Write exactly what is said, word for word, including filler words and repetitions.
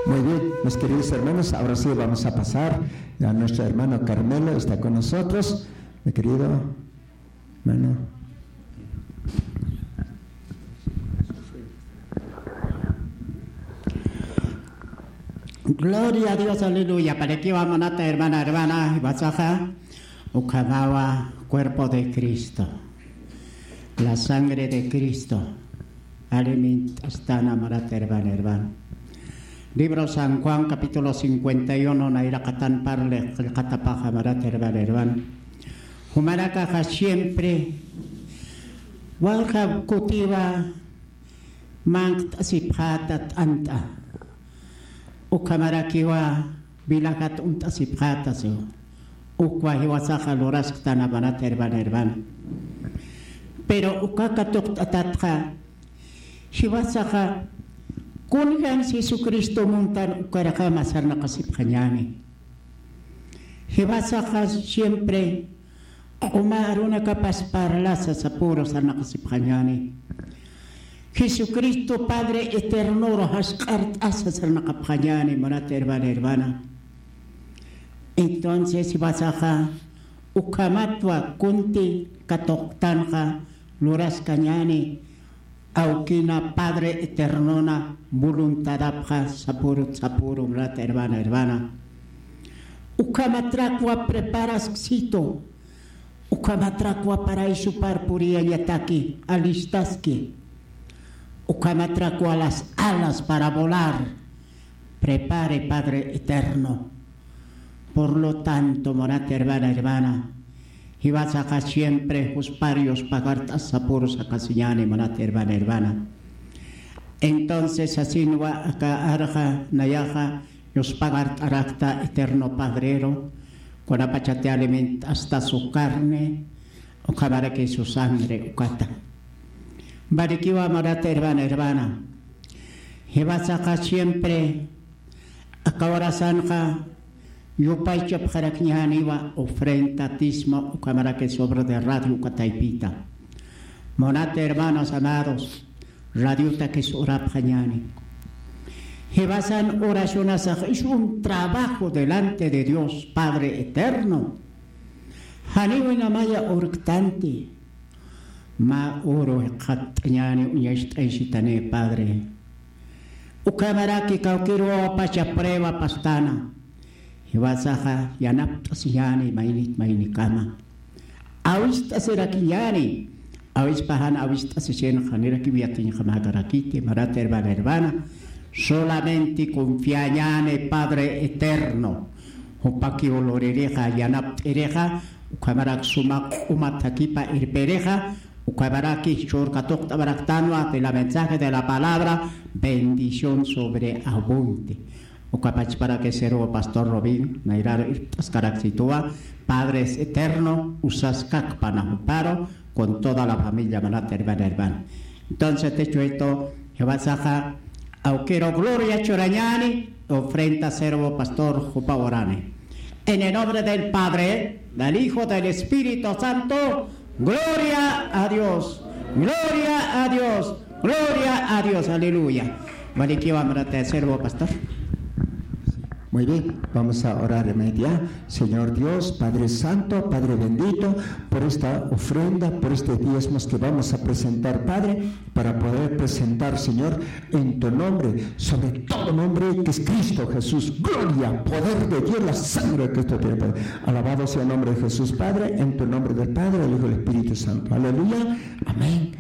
Muy bien, mis queridos hermanos, ahora sí vamos a pasar a nuestro hermano Carmelo, está con nosotros, mi querido hermano. Gloria a Dios, aleluya. Panikiwa munata hermana, hermana, iwasaxa, ukhamawa cuerpo de Cristo, la sangre de Cristo. Aliment'astana munata hermana, hermana. Libro San Juan, capítulo cincuenta y uno, nayraqatan parli qillqatapaxa munata hermana, hermana. Jumanakaxa siempre walja kutiwa manqt'asipxäta t'ant'a. Ukhamarakiwa vilajat uñt'asipxäta, siw. Ukwa jiwasaxa lurasktan munata hermana, hermana. Pero uka katuqt'atatxa, jiwasaxa kunjams Jesucristo muntan ukarjama sarnaqasipxañäni. Jiwasaxa siempre q'uma arunakapas parlasa sapüru sarnaqasipxañäni. Jesucristo Padre Eternoru jasq'art'asa sarnaqapxañäni, munata hermana, hermana. Entonces, jiwasaxa ukhamatwa kunti katuqtanxa luraskañäni, awkina Padre Eternona voluntadapxa sapüru, sapüru, munata hermana, hermana. Ukhamatrakwa preparasksitu, ukhamatrakwa paraysupar puriyañataki, alistaski. Ukhamatrakwa las alas para volar prepare Padre Eterno. Por lo tanto, munata hermana, hermana, jiwasaxa siempre juspar yuspagart'as sapüru sarnaqasiñäni, munata hermana, hermana. Entonces, asinwa aka arxa nayaxa yuspagart'arakta Eterno Padreru, kunapachati aliment'asta su carne, ukhamaraki su sangre ukata. Panikiwa munata hermana, hermana. Jiwasaxa siempre aka horasanxa yupaychapxarakñäniwa ofrenda, dízmo, ukhamaraki sobre de radio uka taypita. Munata hermanos amados, radiotakis urapxañäni. Jiwasan oracionasax es un trabajo delante de Dios Padre Eterno. Janiw inamaya urktanti. Mä uru jikxatt'añäni uñacht'aysitani, Padre. Ukhamaraki kawkïr wawapacha prueba pastana. Jiwasaxa yanapt'asiñäni maynit maynikama. Awist'asirakiñäni. Awispa jan awist'asisinxa janirakiw yatiñjamäkarakiti, munata hermana, hermana. Solamente confiañäni Padre Eterno. Jupakiw luririxa, yanapt'irixa, ukhamarak suma q'uma thakipa irpirixa, ukhamaraki jichhür katuqt'awaraktanwa de la mensaje de la palabra, bendición sobreabunde. Uka pachparaki siervo pastor Robin, nayraru irpt'askaraksituwa, Padre Eterno, usaskakpana juparu, con toda la familia, munata hermana, hermana. Entonces, dicho esto, jiwasaxa awkïru gloria churañäni, ofrenda siervo pastor jupa urani. En el nombre del Padre, del Hijo, del Espíritu Santo, gloria a Dios, gloria a Dios, gloria a Dios, aleluya. Panikiwa munata siervo pastor. Muy bien, vamos a orar en media. Señor Dios, Padre Santo, Padre bendito, por esta ofrenda, por estos diezmos que vamos a presentar, Padre, para poder presentar, Señor, en tu nombre, sobre todo nombre que es Cristo Jesús. Gloria, poder de Dios, la sangre de Cristo tiene poder. Alabado sea el nombre de Jesús, Padre, en tu nombre del Padre, del Hijo y del Espíritu Santo. Aleluya. Amén.